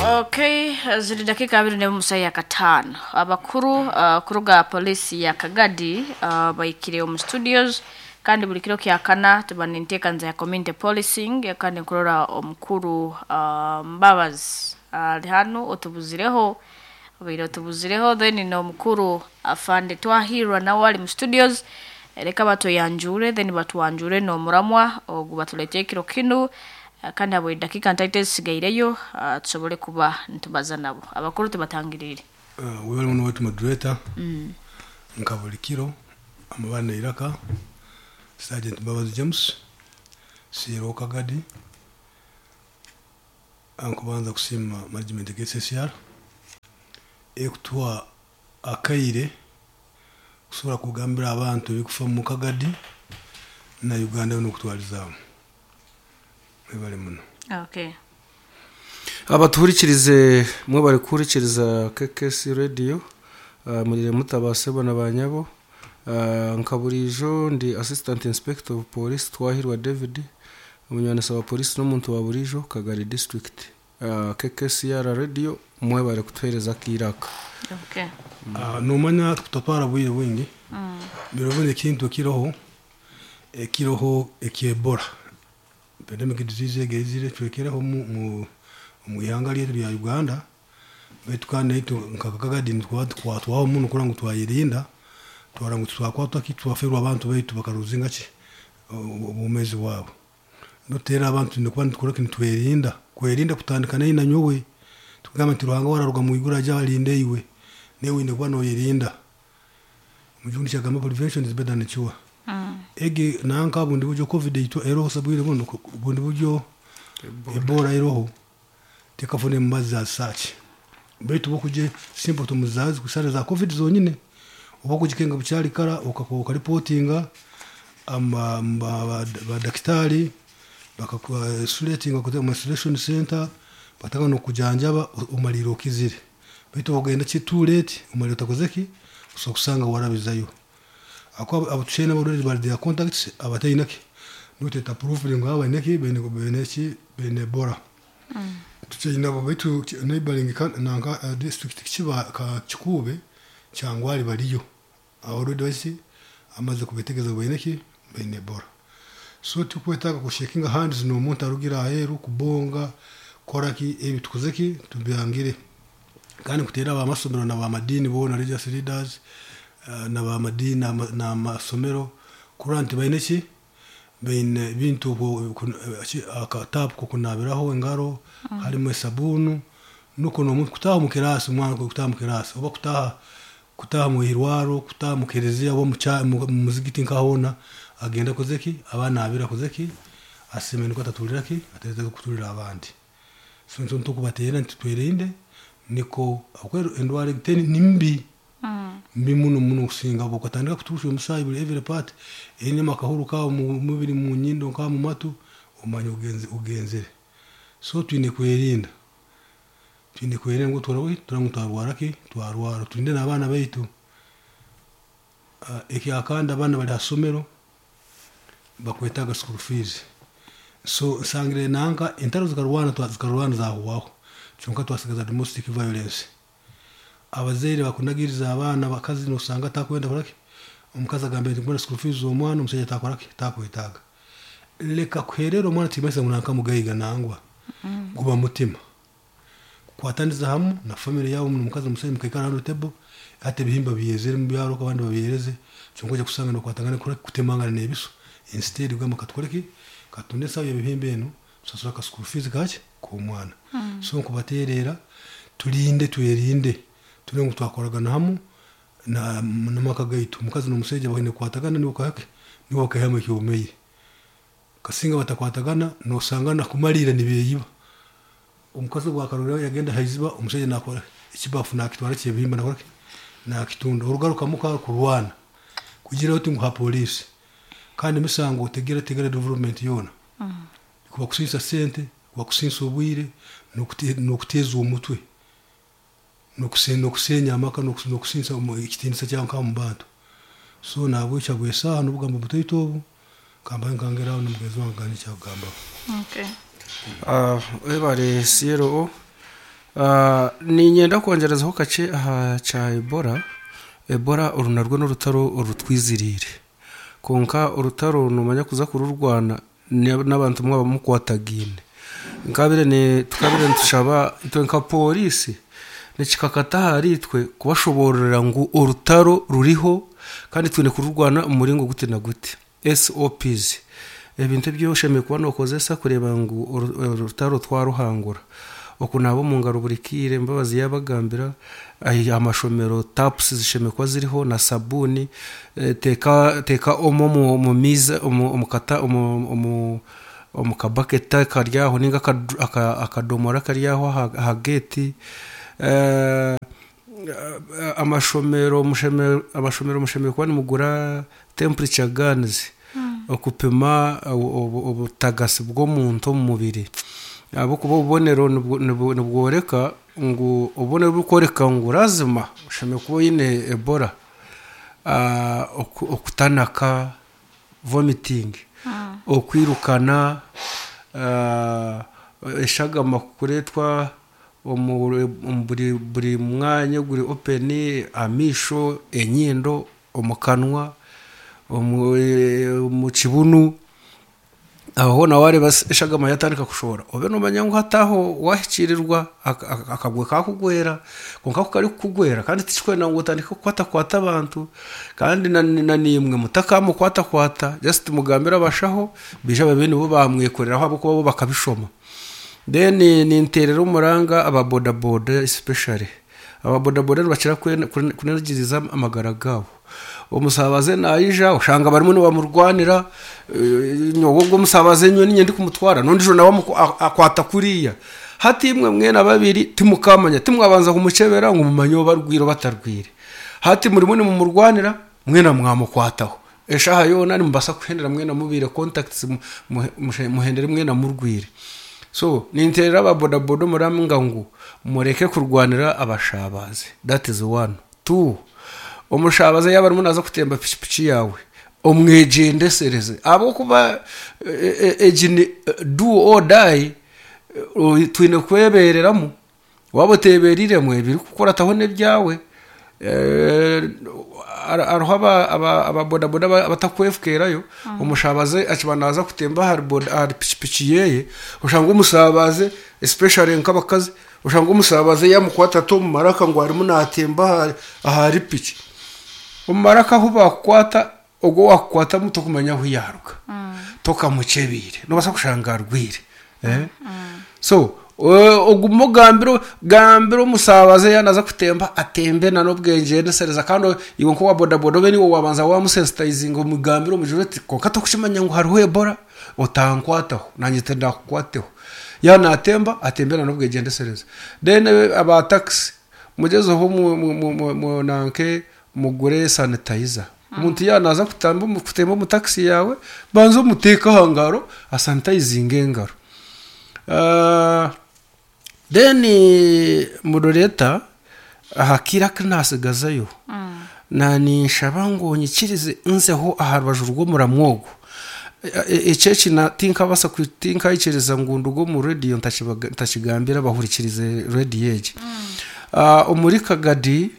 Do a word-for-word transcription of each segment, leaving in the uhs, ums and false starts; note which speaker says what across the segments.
Speaker 1: Okay, ziri dakika abiri n'omu ya kataano. Abakuru uh, kuruga polisi ya Kagadi uh, baikire omu studios, kandi buli kiro kyakana tuba ninteekanza ya community policing, kandi nkurora omukuru uh, Mbabazi ali hanu otubuzireho, obaire otubuzireho. Then n'omukuru afande Twahirwa nawe ali mu studios. Reka batoyanjure, then batwanjure n'omuramwa ogu batuleetera ekiro kinu. Uh, kandi abo eddakiika ntaito ezisigaireyo uh, tusobole kuba nitubaza nabo. Abakuru tubatangirire.
Speaker 2: Uh, webale muno wetu moderator. Nka buli kiro amabana iraka Sergeant Mbabazi James C R O Kagadi. Ankubanza kusiima management K C C R ekutuha akaire kusobola kugambira abantu ebikufa mu Kagadi na Uganda n'okutwalizaamu. Webale muno.
Speaker 1: Okay.
Speaker 3: Abatuhurikirize mwe bari kuhurikiriza K K C Radio, uh, murire mutabasebo na banyabo. uh, nka burijo ndi Assistant Inspector of Police Twahirwa David, umunywanisa wa polisi n'omuntu wa burijo Kagari District. uh, K K C R Radio, mwe bari kutuhereza kiraka.
Speaker 1: Okay.
Speaker 2: Uh, nomanya tutatwara bwire bwingi biro. Ekintu ekiroho ekiroho eky'Ebola pandemic disease egezire twekereho mu mu mu ihanga lyetu lya Uganda. Baitu kandi naitu nka Kagadi nitwakwatwaho muno kurora ngu twayirinda, twara ngu twakwatwa ki twaferwa abantu baitu bakaruzinga ki obumezi bwabo. Notera abantu nikuba nitukora ki nitwerinda kwerinda kutandika nayi nanyowe. Tukugamba nti Ruhanga wararuga mu iguru aja alinde iwe, newe wine kuba noyerinda. Mujungu kyagamba, "Prevention is better than cure." Egi nanka bundi buryo COVID itwa eroho sabwire buno, bundi buryo Ebola eroho tekafune mubazi za search. Baitu bokuje symptoms zazi kusara za COVID zonyine, oba kujikenga bukyali kara ukaripotinga ama badakitari bakakuisolatinga kuza mu isolation center, bataka no kujanjaba, umaliro okizire. Baitu ogenda ki too late, umaliro utakoze ki usobola kusanga warabizayo. Ako abatushene abarwaire bari their contacts abatayinaki nuteta proof ngo abaineki bene bene ki bene Ebola tukyine abo. Baitu neighboring nanka uh, district kiba ka Kikube cyangwa ari bariyo already basi amaze kubetegeza bene bene Ebola. So tukwetaga kushakinga hands n'omuntu arugira aheru, kubonga koraki ebi tukoze ki tubyangire. Kandi kutera abamasomero na bamadini bona, religious leaders uh, na bamadini n'amasomero kurora nti baine ki baine bintu akatapu kokunabiraho engaro mm. harimo esabunu, nuko n'omuntu kutaha mu kirasi, omwana kutaha mu kirasi oba kutaha kutaha mu irwaro, kutaha mu kereziya oba mu muzigiti nkahona agenda akoze ki abaana abira akoze ki aseme niko atatulira ki atereza kutulira abandi. So nso ntukubateera nti twerinde niko akwero endwara teni ni mbi
Speaker 1: mm.
Speaker 2: mbi muno muno kusinga bukatandika kutusha omusaayi buli every part eine makahuru kawo mu mubiri, mu nyindo nka mu matu, omanya ugenze ugenzere. So twine kwerinda twine kwerinda ngo turawe turangu twarwara ki twarwara, tulinde n'abaana baitu. uh, ekyakandi abaana bali hasomero bakwetaga school fees. So nsangire nanka entaro zikarwana zikarwana zahuwaho, kyonka twasigaza domestic violence. Abazaire bakunagiriza abaana bakazi, nosanga atakwenda koraki. Omukazi agamba nti mbona school fees omwana, omusajja atakoraki takwetaaga. Leka kuherera omwana timasa ngu nanka mugaiga nangwa mm. guba mutima kwataniza hamu na family yawe, omukazi omusajja mukaikara hano table ate ebihimba byezere mu byaro abandi babyereze. Kyonka ojja kusanga nokwatangana kutemangana n'ebiso. Instead ugamba katukoreki katunde esawo y'ebihimba eno tusasura ka school fees kaki k'omwana mm. So nkubateerera tulinde twerinde tule ngu twakoragana hamu na n'amaka gaitu. Omukazi n'omusajja baine kukwatagana nibo kake nibo bakaihamu ekyomeire. Kasinga batakwatagana nosanga nakumalira nibeyiba. Omukazi bwakarora yagenda haiziba, omusajja nakora ekibafu nakitwara kyebihimba nakoraki nakitunda. Orugaruka muka kurwana kugira oti ngu ha polisi kandi emisango tegera tegera development yona
Speaker 1: mm.
Speaker 2: kuba kusinsa sente, kuba kusinsa obwire n'okuteeza omutwe n'okusenya amaka n'okusinsa ekitiinisa kyawe nka mu bantu. So nabwekyo bwesaaha n'obugambo butaito obu kamba nkangeraho n'omugenzi wange gandi kyakugambaho.
Speaker 1: Okay.
Speaker 3: Uh, webale C R O. Uh, ninyenda kwongerezaho kakye aha kya Ebola. Ebola oru narwo n'orutaro orutwiziriire, konka orutaro nomanya kuza kururwana n'abantu mwaba mukwatagaine. Nkabire ni tukabire nitushaba itwe nka polisi nikikakata ahari itwe kubashoborera ngu orutaro ruriho kandi twine kururwana omu muringo guti na guti. S O Ps ebintu ebi oshemereire kuba nokozesa kureeba ngu orutaro twaruhangura. Okunaaba omu ngaro buri kiire, Mbabazi yabagambira, amashomero tapusi zishemereire kuba ziriho na sabuuni, teeka teeka omo omu maizi omu kata omu omu kabaketi kari aho ninga akadomora kari aho aha geeti. Amashomero amashomero mushemereire kuba nimugura temperature guns okupima obutagasi bw'omuntu omu mubiri. Ahabw'okuba obubonero nibworeka ngu obubonero burikworeka ngu lazima oshemereire kuba oine Ebola. Okutanaka, vomiting, okwirukana, eshagama kureetwa omu buri buri mwanya oguri open, amaisho, enyindo, omu kanwa, omu kibunu. Aho hoona wareeba eshagama yatandika kushohora obe nomanya ngu hati aho wahikiirirwa akagwe kakugwera. Kwonka ku karikukugwera kandi tikikwenda ngu otandike kukwatakwata abantu, kandi na naimwe mutakamukwatakwata, just mugambire abashaho baije babe nibo bamwekoreraho ahabw'okuba bo bakabishoma. Then ninteerera omuranga aba boda boda especially. Aba boda boda nibakira kunagiriza amagara gaabo. Omusabaze naija oshanga barimu nibamurwanira, nyowe ogwo omusabaze nyowe niinye ndikumutwara n'ondiijo nawe akwata kuriya. Hati imwe mwena babiri timukamanya, timwabanza kumukyebera ngu mumanye oba arwire oba atarwire. Hati murimu nimumurwanira mwena mwamukwataho. Eshaaha yoona nimubaasa kuhendera mwena mubiire contacts, muhendere mwena murwire. So ninteerera aba boda boda omuranga ngu mureke kurwanira abashabaze. That is one. Two, omushabaze yaaba arimu naaza kutemba pikipiki yaawe omwegyendesereze, ahabw'okuba egi ni do or die, twine kwebereramu. Waaba otebereiremu ebirikukurataho n'ebyawe. Hariho aba boda boda abatakwefukeerayo, omushabaze akiba naaza kutemba ahari pikipiki yeeye, oshanga omushabaze especially nk'abakazi, oshanga omushabaze yamukwata ati omu maraka ngu arimu naatemba ahari piki. Omu maraka ahu bakukwata, ogwo owakukwatamu tokumanya ahu yaaruga, tokamukyebiire, nobaasa kushanga arwire. So ogume ogambire gambire omushabaze yaaba naaza kutemba atembe n'obwegyendesereza, kandi iwe nk'owa boda boda obe niiwe waabanza wamusensitizinga omugambire omugire oti konka tokukimanya ngu hariho Ebola, otankwataho nanye tindakukwateho. Yaaba naatemba atembe n'obwegyendesereza. Then aba takisi mugyezeho nanke mugure sanitizer. Omuntu yaaba naaza kutemba omu takisi yaawe, banza omuteeke aha ngaro asanitayizinge engaro. Then moderator aha kaire aku naasigazayo, naninshaba ngu onyikirize nzeho aha rubaju rw'omuramwa ogu. Eki eki tinkabaasa tinkayikiriza ngu nduge omu rediyo ntakigambire abahurikirize rediyo egi. Omuri Kagadi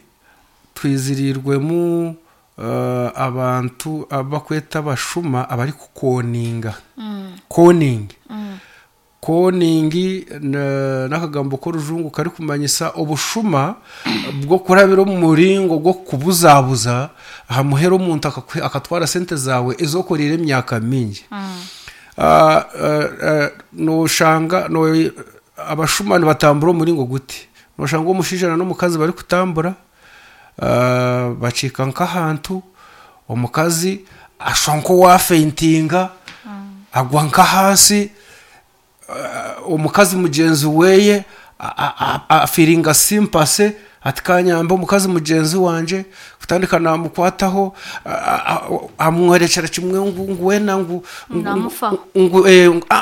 Speaker 3: twiziriirwemu abantu abakweta abashuma abarikukoninga. Conning. Conning n'akagambo k'orujungu karikumanyisa obushuma bw'okurabira omu muringo gw'okubuzabuza aha muheru omuntu akatwara sente zaawe ezi okoreire emyaka mingi. Noshanga abashuma nibatambura omuringo guti, noshanga omushaija n'omukazi barikutambura bakiika nk'ahantu, omukazi ashusha nk'owafeintinga agwa nk'ahansi, omukazi mugyenzi weye afiiringa sympathy ati kanyambe omukazi mugyenzi wangye, kutandika namukwataho amworekyera kimwe ngu weena ngu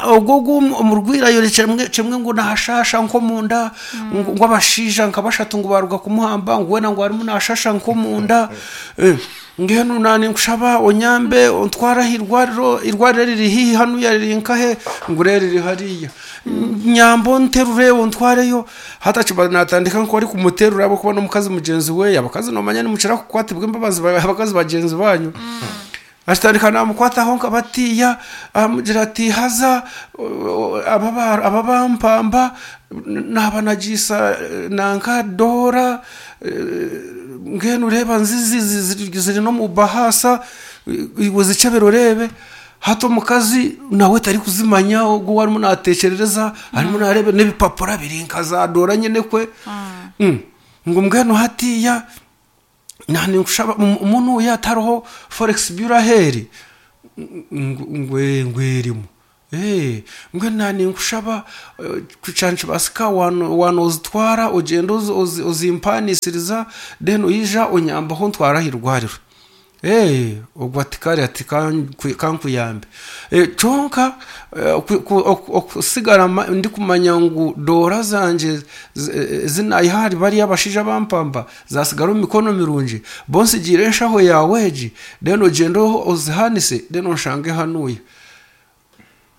Speaker 3: ogwo ogu omurwaire ayorekyera kimwe ngu nashasha nk'omunda, ngu abashaija nka bashatu ngu baruga kumuhamba, ngu weena ngu arimu nashasha nk'omunda, mbwenu naninkushaba onyambe ontware aha irwariro, irwariro eriri haihi hanuya riri nkahe, ngu reero riri hariya. Nyambo nterure ontwareyo. Hatakiba natandika nko ari kumuterura abo kuba n'omukazi mugenzi we, abakazi nomanya nimukira kukwatibwa embabazi ba- abakazi bagenzi banyu. Akitandika namukwataho nkabatiya, amugira ati haza aba aba bampamba naba nagiisa nanka dora mbwenu ureba nzizi ziri no mu bahasa, iwe zikyebere orebe. Hati omukazi nawe tarikuzimanya, ogwo arimu natekyerereza, arimu nareeba n'ebipapura biri nka za dora nyine kwe. Mm. Ngu mbwenu hatiya ninkushaba omuntu oyu atariho forex bureau aheeri ngu erimu. Eh, mbwenu naninkushaba kyanikibasika wanozitwara ogyende ozimpanisiriza, then oija onyambaho ntwara ah'irwariro. Eh, ogwo ati kare ati kankuyambe. Kyonka okusigara ndikumanya ngu doora zangye zinayiha ahari bariya abashaija bampamba zasigara omu mikono mirungi, bo nsigiire enshaho yaawe egi, then ogyende ozihanise, then onshange hanuya.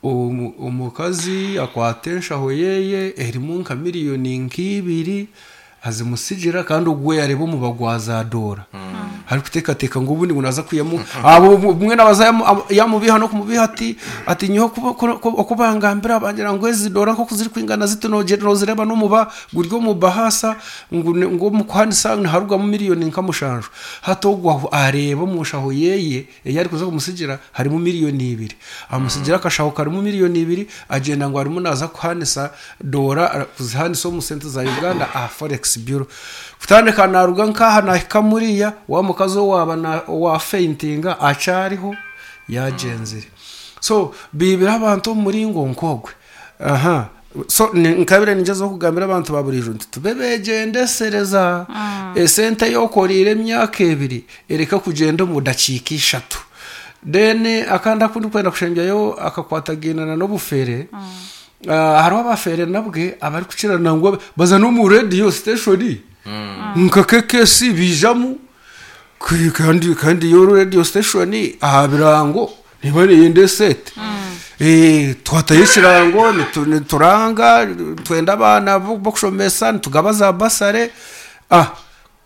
Speaker 3: Omukazi akwata enshaho yeye erimu nka miliyoni nk'ibiri, azimusigira, kandi ogwo yareeba omuba gwa za doora arikuteekateeka ngu obundi ngu naza kwihamu abo mbwenu abaza yamubiha n'okumubiha ati ati nyowe oku bangambira bangira ngu ezi doora nk'oku zirikwingana ziti nozireeba n'omuba guri omu bahasa, ngu omu kuhanisa niharugamu miliyoni nka mushanju. Hati ogwo areeba omu nshaho yeye ei arikuza kumusigira harimu miliyoni ibiri, amusigira akashaho karimu miliyoni ibiri, agyenda ngu arimu naza kuhanisa doora, kuzihanisa omu sente za Uganda aha forex bureau. Kutandika naruga nkaha nahika muriya wa mukazi owaaba owafeintinga akyariho yagyenzire. So biibire abantu omu muringo nk'ogwe. Aha so nkabire ningyezaho kugambira abantu ba buriijo nti tube begyendesereza, esente ey'okoriire emyaka ebiri ereke kugyenda omu dakiika ishatu. Then akandi aku ndikwenda kushembyayo akakwatagaine n'obufere. Hariho abafere nabwe abarikukira nangwa baza n'omu radio station nka K K C biijamu, kandi kandi yo radio station aha birango niba neyenda esente. Twatayo ekirango nituranga twenda abaana b'okushomesa, nitugaba za bursary,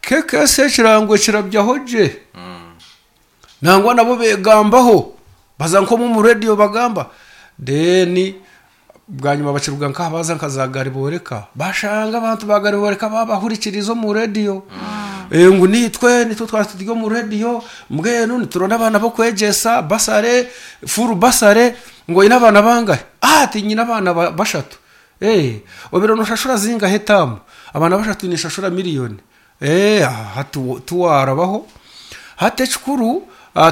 Speaker 3: K K C ekirango kirabyaho gye, nangwa nabo begambaho, baza nk'omu radio bagamba, then bwanyima bakiruga nkaha baza nka za Gariboreka, bashanga abantu ba Gariboreka babahurikiriza omu radio ngu nitwe nitwe twaba turi omu radio, mbwenu nituronda abaana b'okwegyesa bursary, full bursary. Ngu oyine abaana bangahe? Ati nyine abaana bashatu. Obiire noshashura zingahe etaamu? Abaana bashatu ninshashura miliyoni. Hati tiwarabaho. Hati ekikuru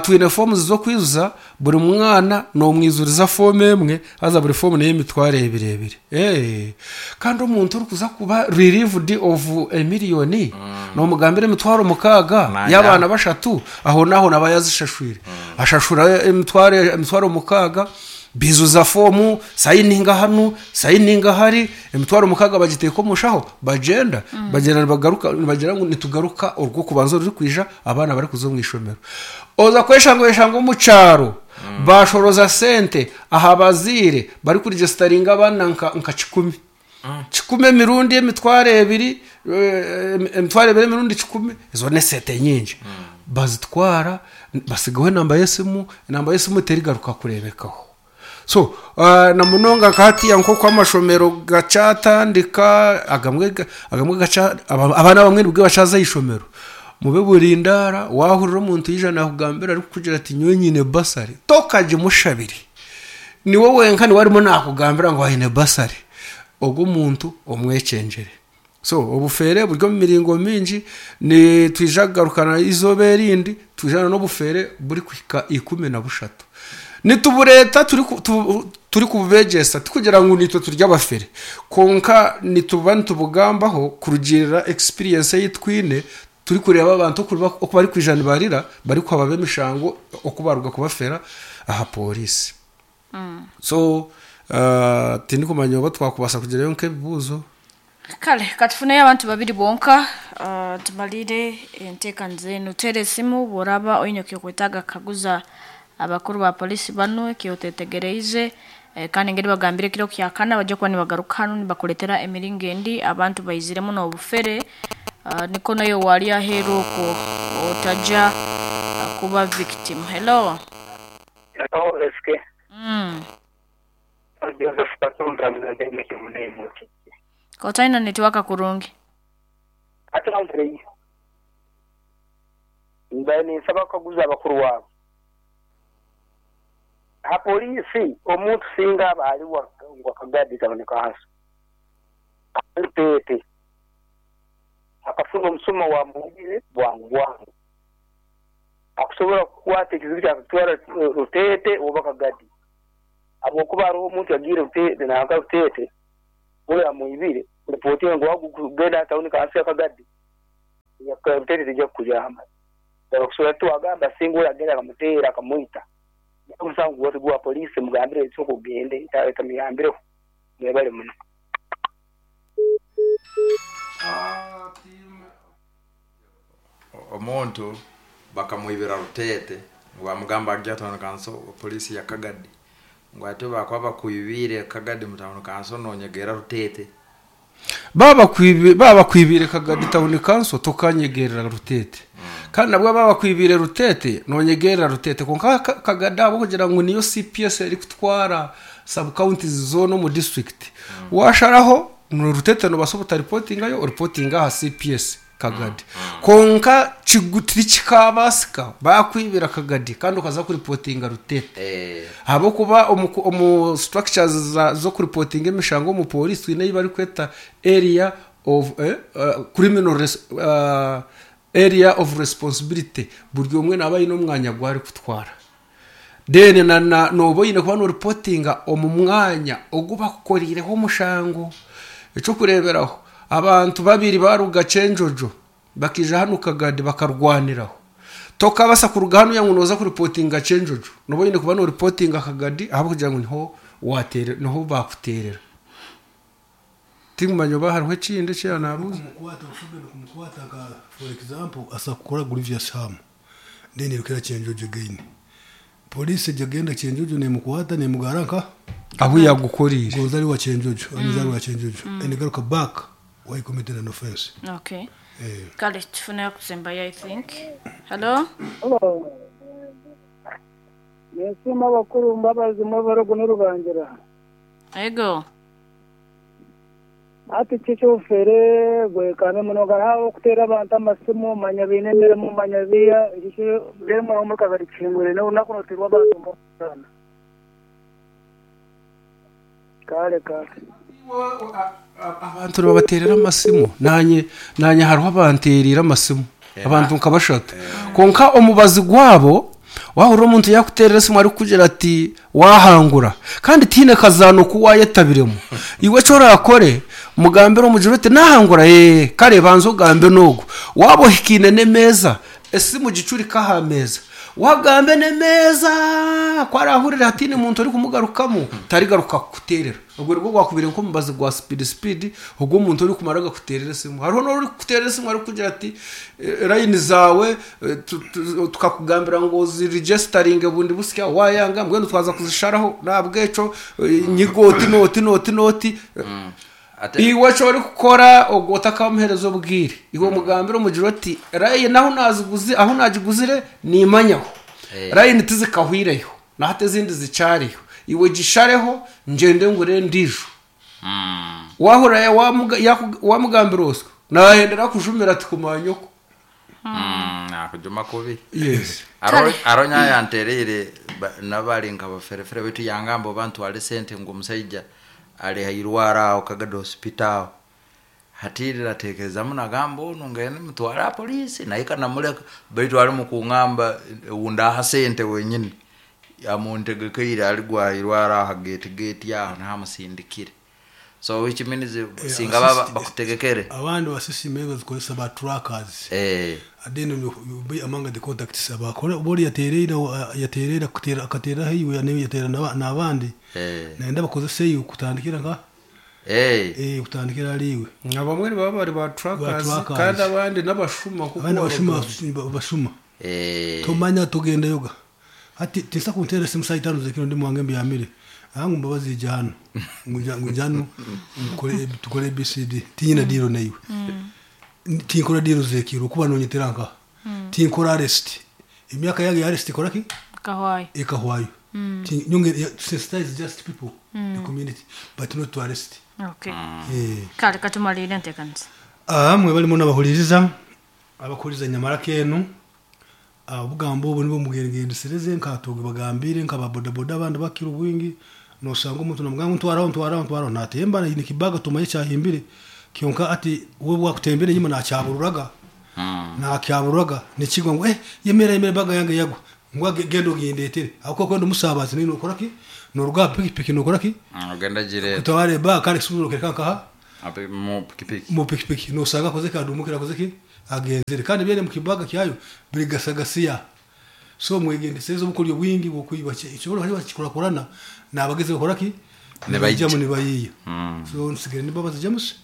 Speaker 3: twine forms z'okwijuza, buri mwana nomwizuriza fomu emwe, haza buri fomu n'ey'emitwaro ebiri ebiri. Kandi omuntu orikuza kuba relieved of emiliyoni nomugambira emitwaro mukaaga y'abaana bashatu, aho naaho naba yazishashwire, ashashura emitwaro emitwaro mukaaga, bizuza fomu, sayininga hanu, sayininga hari, emitwaro mukaaga bagiteeka omu nshaho, bagyenda bagyenda nibagaruka nibagira ngu nitugaruka orw'okubanza orurikwija abaana barikuza omu ishomero. Oza kweshanga oyeshanga omu kyaro bashoroza sente aha bazaire barikuregisteringa abaana nka kikumi kikumi, emirundi emitwaro ebiri, emitwaro ebiri emirundi kikumi, ezo n'esente nyingi. Bazitwara, basigaho enamba y'esimu, enamba y'esimu terigaruka kureebekaho. So na munonga nka hatiya nk'oku amashomero gakyatandika, agamwe agamwe abaana abamwe nibwe bakyaza ah'ishomero, mube burindaara. Wahurira omuntu yaija nakugambira arikukugira ati nyowe nyine bursary, tokagimushabire. Niwe wenka niwe arimu nakugambira ngu aine bursary, ogwo omuntu omwekyengyere. So obufere buri omu miringo mingi, nitwija kugarukana izooba erindi twijana n'obufere burikuhika ikumi na bushatu. Nitubureeta turikububegyesa, tikugira ngu nitwe turi abafere, kwonka nituba nitubugambaho kurugiirira experience ei twine, turikureeba abantu oku barikwija nibarira barikuhaba emishango oku baruga kubafera aha pooriisi. So tindikumanya oba twakubaasa kugirayo nk'ebibuuzo.
Speaker 1: Kale katufuneyo abantu babiri bonka uh, tumalire enteekaniza enu. Teera esimu bw'oraba oine ekyokwetaaga kukaguza abakuru ba polisi banu ekyotetegereize. Eh, kandi ngeri bagambire kiro kyakana bajja kuba nibagaruka hano nibakuletera emiringo endi abantu baiziremu n'obufere. uh, niko nayo wali aheeru okwo otajja uh, kuba victim. Hello.
Speaker 4: Hello, S K.
Speaker 1: Mm.
Speaker 4: Joseph Katumba mzalendo kimunemu.
Speaker 1: Kotaina network kurungi.
Speaker 4: Ate namvire. Mbani nsaba kaguza abakuru wabo. Ha polisi omuntu singa abali wa Kagadi kaboneka hasi. Tete. Akafunga omusuma wa mubire bwangu bwangu. Akusobola kukwata ekizibu kyakutwara Rutete oba Kagadi. Abokuba hariho omuntu yagiire Rutete nanka Rutete oyo amwibire ripoti ngo wagugenda tawuni kansi ya Kagadi. Ya Rutete tijja kukuyamba. Okusobola tuwagamba singa oyo agenda akamuteera akamwita. Omusango gwoti gwa polisi mugambire ekyo kugende tamuyambireho mwebale muno.
Speaker 5: Omuntu bakamwibira Rutete bamugamba ajja town council polisi ya Kagadi ngo ate bakwa bakwibire Kagadi mu town council nonyegera Rutete.
Speaker 3: Baba kwibire baba kwibire Kagadi town council tokanyegerera Rutete. Mm. Kandi nabwo baba kwibire Rutete nonyegerera Rutete konka Kagadi abo kugira ngo niyo C P S eri kutwara sub counties zone mu district. Mm. Washaraho no Rutete no basobuta reporting ayo reporting aha C P S Kagadi. Mm. Konka kigutiri kikabasika bakwibira Kagadi kandi ukaza ku reportinga Rutete.
Speaker 5: Eh.
Speaker 3: Habo kuba omu structures zo ku reporting emishango mu police twine bari kweta area of eh, uh, criminal res, uh, area of responsibility buri umwe nabaye no mwanya gwari kutwara. Then na, na nobo yine kuba no reportinga omu mwanya oguba kukorireho omushango eco kureberaho abantu babiri baruga Chenjojo bakija hano Kagadi bakarwaniraho toka basa kuruga hano yangunoza ku reportinga Chenjojo nobo yine kuba no reportinga Kagadi aho kugira ngo niho watere niho bakuterera timumanyo bahariho ekindi kyanabuza
Speaker 2: kumukwata ushobora kumukwata nka for example asa kukora grievous harm then irukira Chenjojo gain police jagenda Chenjojo nemukwata nemugaranka
Speaker 3: aho yagukorire
Speaker 2: gonzali wa Chenjojo mm. wa Chenjojo mm. and garuka back why committed an offense.
Speaker 1: Okay.
Speaker 2: Eh.
Speaker 1: Kale tufuna kusemba I think. Hello.
Speaker 6: Hello. Yesuma bakuru mbabazi mubaro n'urubangira.
Speaker 1: Ego.
Speaker 6: Ati chichofere gwekana munoga hawo kutera abantu amasimu manya bine mu manya biya igisho bemo mu Kagari kingure no nakunotirwa abantu mbona. Kale kale.
Speaker 3: Abantu babaterera amasimu nanye nanye hariho abanterera amasimu abantu nkabashatu konka omubazi gwabo wahura omuntu yakuterera simu ari kugira ati wahangura kandi tine kazano kuwayetabiremo iwe cyo rakore mugambere omujiro ati nahangura eh kare banzo gambe nogo wabo hikine nemeza esimu gicuri kahameza wagambe nemeza kwarahurira hatine muntu uri kumugarukamo tarigaruka kuterera ubwo rwo gwakubire nko mubazi gwa speed speed ubwo umuntu uri kumaraga kuterera simu hariho no uri kuterera simu ari kugira ati line zawe tukakugambira ngo ziregistering bundi busya wayanga mbwe twaza kuzisharaho nabweco nyigoti noti noti noti iwe cyo uri gukora ogota kamuherezo bwire iwe mugambira umugiro ati line naho naziguze aho najiguzire nimanyaho line tizikahwireyo nahate zindi zicariyo iwe gishareho ngende ngure ndijo wahura wamugambira oswa nahendera kujumira ati kumanyoko
Speaker 5: nakujuma kubi.
Speaker 3: Yes.
Speaker 5: Aro aronya yanterere nabali nka baferefere bitu yangambo bantu ale sente ngo musajja ale hairwara aho Kagadi hospital hatirira tekereza munagambo ono ngene mutwara polisi naye namuleka baitu ali mukungamba unda sente wenyini yamuntegekeire ali gwairwara aha gate gate yaho ntamusindikire so which means singa baba bakutegekere
Speaker 2: abandi basisime bazikozesa ba trackers
Speaker 5: eh
Speaker 2: adeno you be among the contacts abakora bori yaterera yaterera kutera akatera hiwe yanewe yatera nabandi
Speaker 5: eh
Speaker 2: naenda bakozesa iyo kutandikira nka
Speaker 5: eh
Speaker 2: eh kutandikira aliwe
Speaker 3: abamwe baba bari ba trackers kandi abandi nabashuma kuko
Speaker 2: abandi bashuma bashuma
Speaker 5: eh
Speaker 2: tumanya tugenda yoga ati tisa kuntera simu saitano zekino ndi mwange mbyamire Angu mbabazi jano nguja ngujano nkore tukore B C D tinyina diro naiwe tinkora diro zekiro kuba nonyeteranka tinkora arrest emyaka yage arrest ikora ki
Speaker 1: kahwayo
Speaker 2: ikahwayo nyonge sensitize just people mm. the community but not to arrest.
Speaker 1: Okay.
Speaker 2: Eh
Speaker 1: kale katumalire ntekanisa
Speaker 2: ah mwe balimo nabahuliriza abakuriza nyamara kenu obugambo obu nibwo mugenderereze nkatoge bagambire nkababodaboda abandi bakira obwingi nosanga omuntu namugamba ntwaraho ntwaraho ntwaraho natemba ni kibaga tumaye cyahimbire kyonka ati we bwakutembere nyuma nakyabururaga nakyabururaga nikigwa ngo eh yemera yemera baga yange yagwa ngo gendo gindetere ako kwenda umusabazi nino ukora ki noruga pikipiki nokora ki
Speaker 5: ogenda gire
Speaker 2: kutawale ba kale suburo kereka nkaha
Speaker 5: ape mu pikipiki
Speaker 2: mu pikipiki nosanga koze kadumukira koze ki agenzere kandi byene mu kibaga kyayo birigasagasiya so mwegendesereza obukoryo bwingi bwokwiba ekibolo hari bakikurakurana nabageze bakora ki
Speaker 5: Nibayija.
Speaker 2: nibayijamu nibayiya so nsigere nibabaza James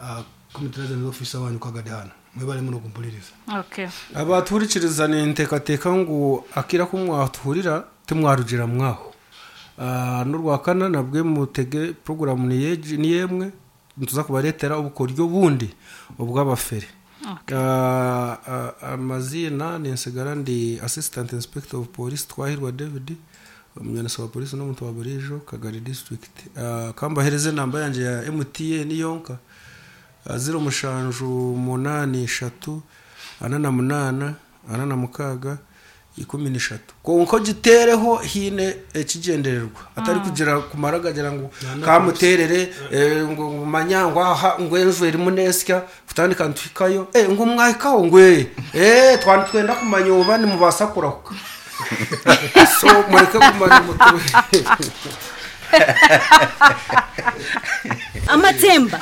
Speaker 2: uh, community officer wanyu kagadi hano mwebale muno kumpuliriza.
Speaker 1: Okay.
Speaker 3: Abatuhurikiriza ninteekateeka ngu akira ku mwatuhurira timwarugira mwaho. Ah, n'urwakana nabwe mutege porogaramu ni yemwe nituza kubareetera obukoryo bundi obw'abafere. Ah, ah, amazina ninsigara ndi assistant inspector of police Twahirwa David omunyanisa wa polisi n'omuntu wa burijo Kagari district. Ah, kambahereze namba yangye ya M T N yonka ziro mushanju munani eshatu ana na munana ana na mukaga ikumi n'eshatu konko gitereho hine ekigendererwa atari kugira kumara gagira ngo kamuterere eh, ngo manyangwa aha ngo enju erimu nesya kutandika ntwikayo eh ngo mwahikaho ngwe eh twandi twenda kumanya oba nimubasa kurahuka so mureke kumanya mutwe
Speaker 7: Amatemba,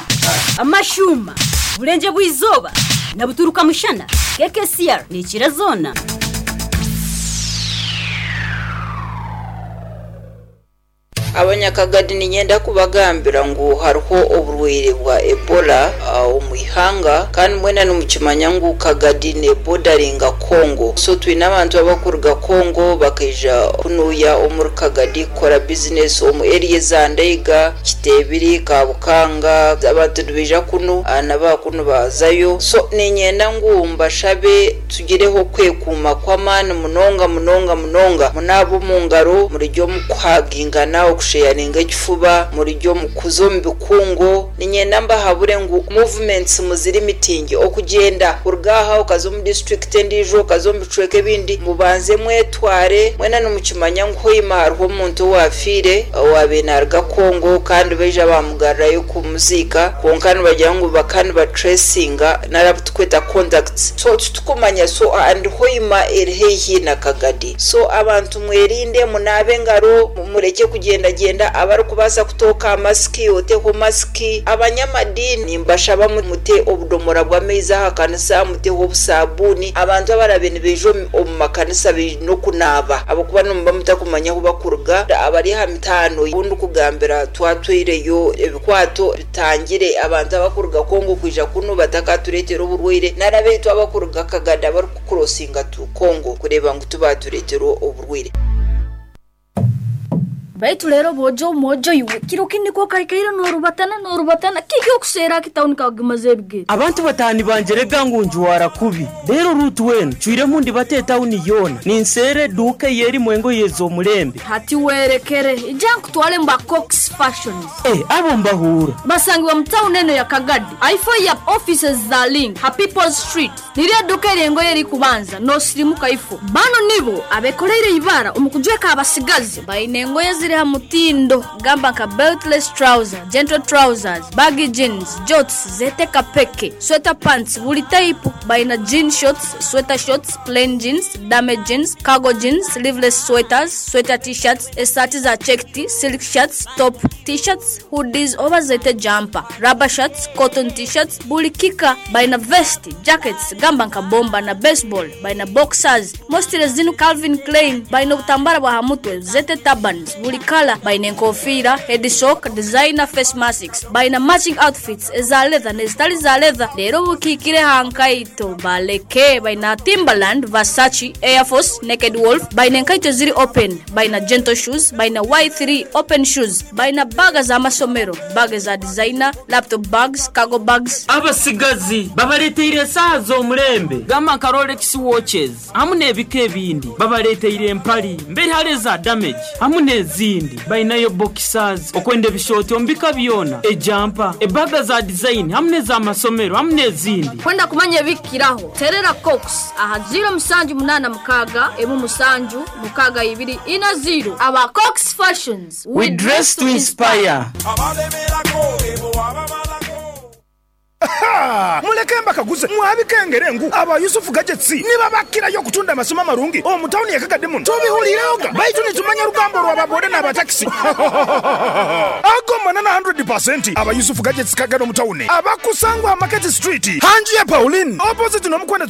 Speaker 7: amashuma, burenje bw'izuba na buturuka mushana K K C R ni kirazona.
Speaker 8: Abanyakagadi ninyenda kubagambira ngu hariho oburwaire bwa Ebola uh, omu ihanga kandi mwena nimukimanya ngu Kagadi ne bordaringa Congo so twine abantu abakuruga Congo bakaija kunuya omuri Kagadi kukora business omu area za Ndeiga, Kitebiri, Kabukanga abantu nibaija kunu uh, n'abakunu bazayo so ninyenda ngu mbashabe tugireho kwekuuma kw'amaani munonga munonga munonga munaaba omu ngaro murijyo mukuhagingana okusheyaringa ekifuba murijyo mukuza omu bikungo ninyenda mbahabure ngu movements muziri mitingi okugenda kuruga aha okaza omu district endiijo okaza omu bicweka ebindi mubanze mwetware mwena nimukimanya ngu hoima hariho omuntu owafiire owaabaire naaruga Congo kandi baija bamugarurayo kumuziika kwonka nibagira ngu bakandi batracinga narabu tukweta contacts so titukumanya so and hoima eri haihi na Kagadi so abantu mwerinde munaabe engaro mureke kugenda genda abarikubaasa kutooka amasiki oteho masiki abanyamadini mbashaba mute obudomora bw'amaizi aha kanisa muteho obusabuni abantu abarabe nibaija omu makanisa baine okunaaba ahabw'okuba nimuba mutakumanya ahu bakuruga abari aha mitaano obundi kugambira twatwireyo ebikwato bitangire abantu abakuruga Congo kwija kunu batakatureetera oburwaire narabeitu abakuruga Kagadi abarikukurosinga tu Congo kureeba ngu tubatureetera oburwaire.
Speaker 1: Baitu lero bojo mojo iwe kiro kindi ko kaikaira norubatana norubatana kiki okusera kitawuni kagimaze ebigere
Speaker 9: abantu batani banjerega ngu njuwara kubi rero rutu wenu cwiremu ndi bate tawuni yona ninsere duke yeri mwengo yezo mulembe
Speaker 1: hati werekere ija nkutwale mba Cox Fashions
Speaker 9: eh abo mbahura
Speaker 1: basangibwa mu tawuni eno ya Kagadi aifo ya offices za Link ha People's Street niriya duka erengo yeri kubanza nosirimuka ifo bano nibo abekoreire ibara omukujweka abasigazi baine engoye ziri ha mutindo gamba nka beltless trouser, gentle trousers, baggy jeans, jorts zeteka peke, sweater pants buli type baina jean shorts, sweater shorts, plain jeans, dame jeans, cargo jeans, sleeveless sweaters, sweater t-shirts, esati za checked, silk shirts, top t-shirts, hoodies oba zete jumper, rubber shirts, cotton t-shirts, buli kika baina vest, jackets gamba nka bomba na baseball, baina boxers, mostly zinu Calvin Klein, baina obutambara bwa hamutwe, zete turbans, buli buli kala. Baina enkofiira, head sock, designer face masks. Baina matching outfits eza leather n'ezitali za leather. Leero bukiikire hankaito baleke. Baina Timberland, Versace, Air Force, Naked Wolf. Baina enkaito ziri open. Baina gentle shoes, baina Y three open shoes. Baina baga z'amasomero, baga za designer, laptop bags, cargo bags.
Speaker 9: Abasigazi babaleteire esaaha z'omulembe gamba nka Rolex watches hamu n'ebika ebindi. Babaleteire empali mberi hali eza damage hamu n'ezindi. Bainayo boxers okwenda ebishooti omu bika byona, ejampa, ebaga za design hamu n'ez'amasomero hamu n'ezindi.
Speaker 1: Kwenda kumanya ebikiraho terera Cox aha ziro musanju munana mukaga emu musanju mukaga ibiri ina ziro. Aba Cox Fashions,
Speaker 9: we dress to inspire.
Speaker 10: Muleke mbakaguze mwabikengere ngu aba Yusufu Gadgets nibabakirayo okutunda amasomo amarungi omu tawuni ya Kagadi muno tubihulireoga baitu nitumanya rugambo rw'ababoda n'abatakisi ago manana hundred percent. Aba Yusufu Gadgets Kagadi omu tawuni abakusangwa Market Street hanju ya Pauline opposite n'omukwenda.